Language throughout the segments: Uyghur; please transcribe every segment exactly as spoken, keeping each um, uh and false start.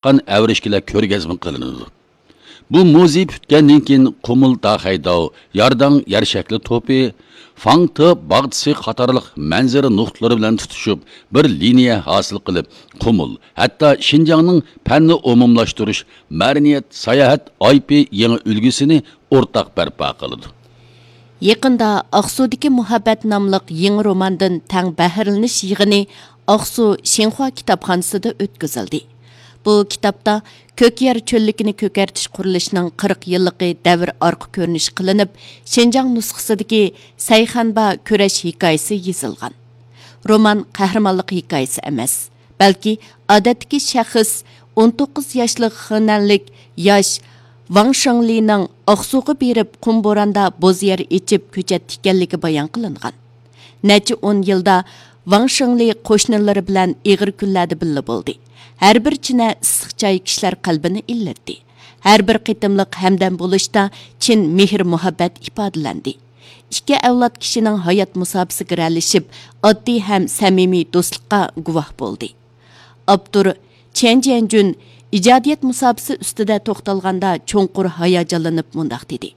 چىققان ئەۋرىشكىلەر كۆرگەزمە قىلىنىدۇ. بۇ مۇزېي پۈتكەندىن كېيىن، قۇمۇل داخەيداۋ، يارداڭ يەر شەكلى توپى، فاڭتې باغچىسى قاتارلىق مەنزىرە نۇقتىلىرى بىلەن تۇتىشىپ، بىر لىنىيە ھاسىل قىلىپ، قۇمۇل، ھەتتا شىنجاڭنىڭ پەننى ئومۇملاشتۇرۇش، مەدەنىيەت، ساياھەت ئايپى يېڭى ئۈلگىسىنى ئورتاق بەرپا قىلىدۇ. يېقىندا ئاقسۇدىكى مۇھەببەت ناملىق يېڭى روماندىن تەڭ بەھرىلىنىش يىغىنى ئاقسۇ شىنخۇا كىتابخانىسىدا ئۆتكۈزۈلدى. بۇ كىتابتا كۆك يەر چۆللۈكىنى كۆكەرتىش قۇرۇلۇشىنىڭ قىرىق يىللىقى دەۋر ئارقا كۆرۈنۈش قىلىنىپ، شىنجاڭ نۇسخىسىدىكى سەيخەنبا كۈرەش ھېكايىسى يېزىلغان. رومان قەھرىمانلىق ھېكايىسى ئەمەس، بەلكى ئادەتتىكى شەخس، ئون توققۇز ياشلىق خېنەنلىك ياش ۋاڭ شېڭلىنىڭ ئاقسۇغا بېرىپ، قۇم بوراندا بوز يەر ئېچىپ كۆچەتتى ئىكەنلىكى بايان قىلىنغان. نەچچە ئون يىلدا ۋاڭ شېڭلى قوشنىلىرى بىلەن ئېغىر كۈنلەردە بىللە بولدى. ھەر بىر چىنە ئىسسىق چاي كىشىلەر قەلبىنى ئىللىتتى. ھەر بىر قېتىملىق ھەمدەم بولۇشتا چىن مېھىر-مۇھەببەت ئىپادىلەندى. ئىككى ئەۋلاد كىشىنىڭ ھايات مۇساپىسىگە رەلىشىپ، ئاددىي ھەم سەمىمىي دوستلۇققا گۇۋاھ بولدى. ئاپتور چيەن جيەنجۈن ئىجادىيەت مۇساپىسى ئۈستىدە توختالغاندا چوڭقۇر ھاياجانلىنىپ مۇنداق دېدى: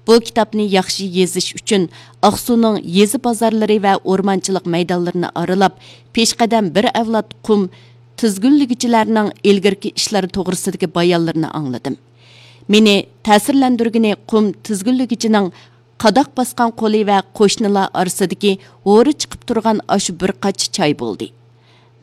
بۇ كىتابنى ياخشى يېزىش ئۈچۈن ئاقسۇنىڭ يېزا بازارلىرى ۋە ئورمانچىلىق مەيدانلىرىنى ئارىلاپ، پېشقەدەم بىر ئەۋلاد قۇم تىزگىنلىگۈچىلەرنىڭ ئىلگىرىكى ئىشلىرى توغرىسىدىكى بايانلىرىنى ئاڭلىدىم. مېنى تەسىرلەندۈرگىنى قۇم تىزگىنلىگۈچىنىڭ قاداق باسقان قولى ۋە قوشنىلار ئارىسىدىكى ھورا چىقىپ تۇرغان ئاشۇ بىر قاچا چاي بولدى.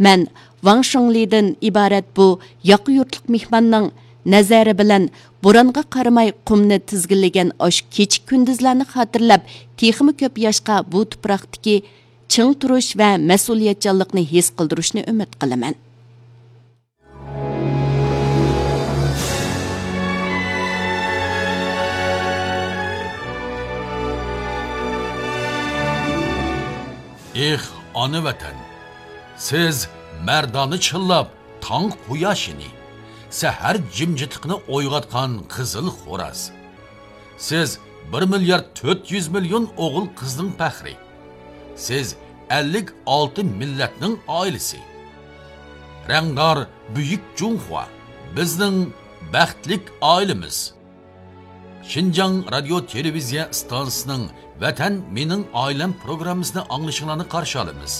مەن ۋاڭ شېڭلىدىن ئىبارەت بۇ ياقا يۇرتلۇق مېھماننىڭ نەزەرى بىلەن بورانغا قارىماي قۇمنى تىزگىنلىگەن ئاشۇ كېچە كۈندۈزلەرنى خاتىرىلەپ، تېخىمۇ كۆپ ياشقا بۇ تۇپراقتىكى چىڭ تۇرۇش ۋە مەسئۇلىيەتچانلىقنى ھېس قىلدۇرۇشنى ئۈمىد قىلىمەن. ئېھ، ئانا ۋەتەن! سىز مەردانە چىللاپ تاڭ قۇياشىنى، سەھەر جىمجىتلىقىنى ئويغاتقان قىزىل خوراز. سىز بىر مىليارد تۆت يۈز مىليون ئوغۇل قىزنىڭ پەخرى. سىز ئەللىك ئالتە مىللەتنىڭ ئائىلىسى. رەڭدار بۈيۈك جۇڭخۇا، بىزنىڭ بەختلىك ئائىلىمىز. شىنجاڭ رادىيو تېلېۋىزىيە ئىستانسىسىنىڭ ۋەتەن مېنىڭ ئائىلەم پروگراممىسىنى ئاڭلىشىڭلارنى قارشى ئالىمىز.